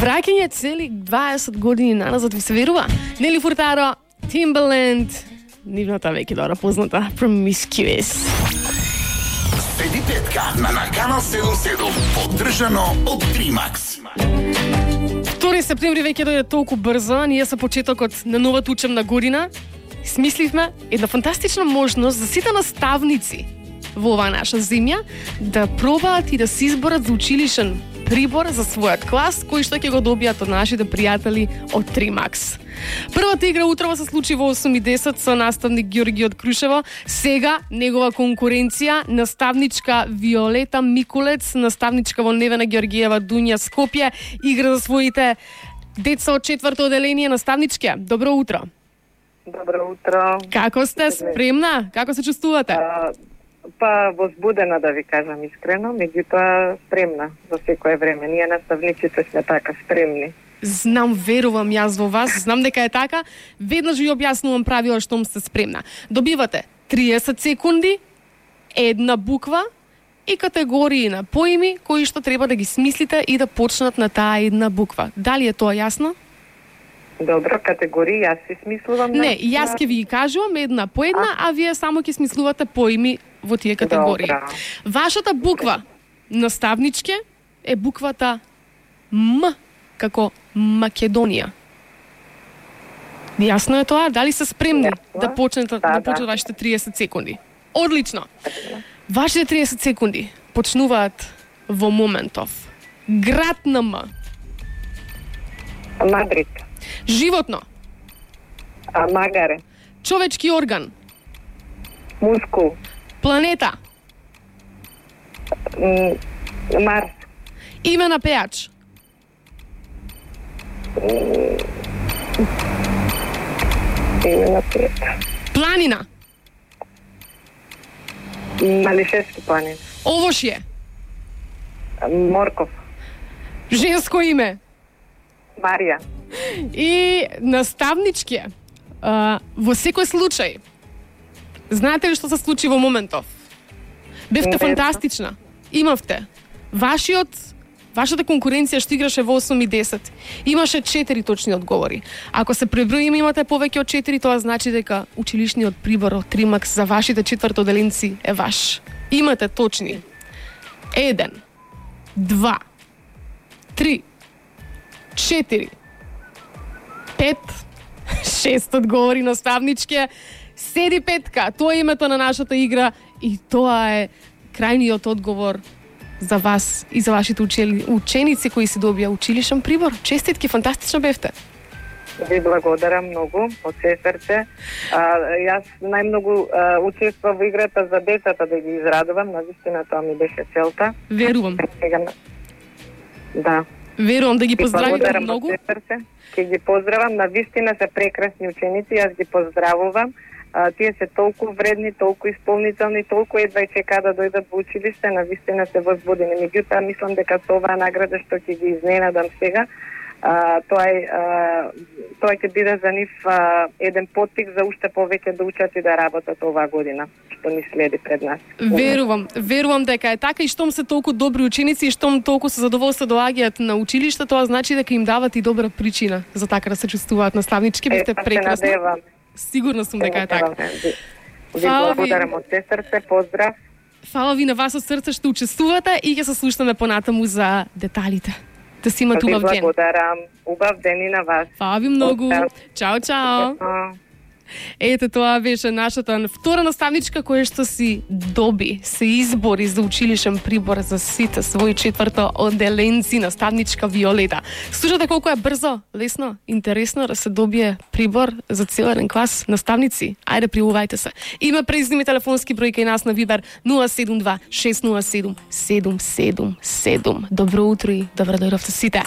Враќање цели 20 години наназад, ви се верува? Нели Фуртадо, Timbaland, нивната веќе добро позната Promiscuous. Седи петка на Канал 77, поддржано од Тримакс. 2 септември веќе дојде толку брзо, ние со почетокот на новата учебна година смисливме една фантастична можност за сите наставници во оваа наша земја да пробаат и да се изборат за училишен прибор за својот клас, кој што ќе го добијат од нашите пријатели од Тримакс. Првата игра утрово се случи во 8:10 со наставник Ѓорги од Крушево. Сега негова конкуренција наставничка Виолета Микулец, наставничка во Невена Ѓоргиева Дунја Скопје, игра за своите деца од 4-то оделение. Наставничке, добро утро. Добро утро. Како сте? Спремна? Како се чувствувате? Па возбудена, да ви кажам искрено, меѓутоа спремна за секое време. Ние наставниците сме така спремни. Знам, верувам јас во вас, знам дека е така. Веднаш ви објаснувам правила штом сте спремна. Добивате 30 секунди, една буква и категории на поими кои што треба да ги смислите и да почнат на таа една буква. Дали е тоа јасно? Добро, категории, јас си смислувам. Не, јас ќе ви ги кажувам една по една, а вие само ќе смислувате поими во тие категории. Добра. Вашата буква, наставничке, е буквата М, како Македонија. Јасно е тоа? Дали се спремни да почнете вашите 30 секунди? Одлично. Вашите 30 секунди почнуваат во моментов. Град на М. Мадрид. Животно. Магаре. Човечки орган. Мускул. Планета. Марс. Име на пејач. Име на пејач. Планина. Малишевски планин. Овошје. Морков. Женско име. Марија. И наставнички. Во секој случај, знаете ли што се случи во моментов? Бевте фантастична. Имавте. Вашата конкуренција што играше во 8:10 имаше 4 точни одговори. Ако се преброим имате повеќе од 4, тоа значи дека училишниот прибор од Тримакс за вашите 4 оделенци е ваш. Имате точни 1, 2, 3, 4, 5, 6 одговори наставничке. Седи петка, тоа е името на нашата игра и тоа е крајниот одговор за вас и за вашите ученици кои се добија училишен прибор. Честитки, фантастично бевте. Ви благодарам многу, од се срце. Јас најмногу учествував во играта за децата да ги израдувам, навистина тоа ми беше целта. Верувам. Да. Верувам, да ги поздравувам многу. Ќе ги поздравам, навистина се прекрасни ученици, јас ги поздравувам. Тие се толку вредни, толку исполнителни, толку едва и чекаат да дојдат во училиште, навистина се возбудени. Меѓутоа, мислам дека со оваа награда што ќе ги изненадам сега, тоа ќе биде за нив еден поттик за уште повеќе да учат и да работат оваа година, што ни следи пред нас. Верувам дека е така и штом се толку добри ученици и штом толку се задоволство доаѓаат на училиште, тоа значи дека им дават и добра причина за така да се чувствуваат наставнички. Бевте прекрасни. Сигурна сум дека е така. Ви благодарам од се срце, поздрав. Фала ви на вас од срце што учествувате и ќе се слушнеме понатаму за деталите. Да си имате убав ден. Ви благодарам. Убав ден и на вас. Фала ви многу. Чао, чао. Ете, тоа беше нашата втора наставничка која што си доби, се избори за училишен прибор за сите своји 4-то оделенци, наставничка Виолета. Слушате колку е брзо, лесно, интересно да се добие прибор за цел еден клас наставници. Ајде, пријавувајте се. Име, презиме и телефонски број кај нас на Вибер 072 607 777. Добро утро и добро дојдовте сите.